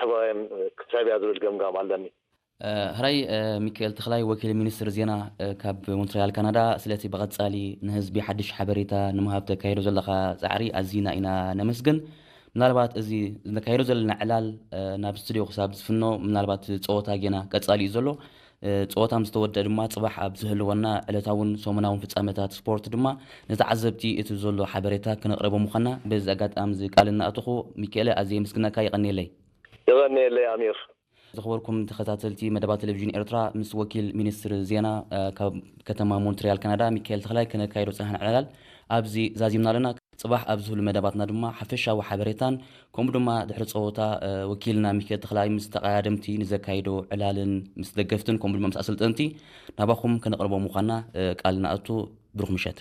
ተባዮም ክሳብ እያ ዝብል ገምጋም ኣለኒ። ሕራይ ሚካኤል ተኽላይ፣ ወኪል ሚኒስትር ዜና ካብ ሞንትሪያል ካናዳ፣ ስለቲ ብቐጻሊ ንህዝቢ ሓድሽ ሓበሬታ ንምሃብ ተካይዶ ዘለኻ ጻዕሪ ኣዚና ኢና ነመስግን። ምናልባት እዚ ነካይዶ ዘለና ዕላል ናብ ስቱዲዮ ክሳብ ዝፍኖ፣ ምናልባት ጸወታ ጌና ቀጻሊ እዩ ዘሎ። ጸወታ ምስ ተወደአ ድማ ጽባሕ ኣብ ዝህልወና ዕለታውን ሰሙናውን ፍጻመታት ስፖርት ድማ ንተዓዘብቲ እቲ ዘሎ ሓበሬታ ክነቕርቦ ምዃና በዚ ኣጋጣሚ እዚ ቃል እናኣተኹ፣ ሚካኤለ፣ ኣዝየ የመስግነካ። ይቐንየለይ። ይቐንየለይ ኣሚር። ዝኽበርኩም ተኸታተልቲ መደባት ቴሌቪዥን ኤርትራ፣ ምስ ወኪል ሚኒስትር ዜና ካብ ከተማ ሞንትሪያል ካናዳ ሚካኤል ተኽላይ ክነካይዶ ዝጸናሕና ዕላል ኣብዚ ዛዚምና ኣለና። ጽባሕ ኣብ ዝህሉ መደባትና ድማ ሓፈሻዊ ሓበሬታን ከምኡ ድማ ድሕሪ ጸወታ ወኪልና ሚካኤል ተኽላይ ምስ ተቐዳደምቲ ንዘካይዶ ዕላልን ምስ ደገፍትን ከምኡ ድማ ምስ ኣሰልጠንቲ ናባኹም ከነቕርቦ ምዃና ቃል ንኣቱ። ብሩኽ ምሸት።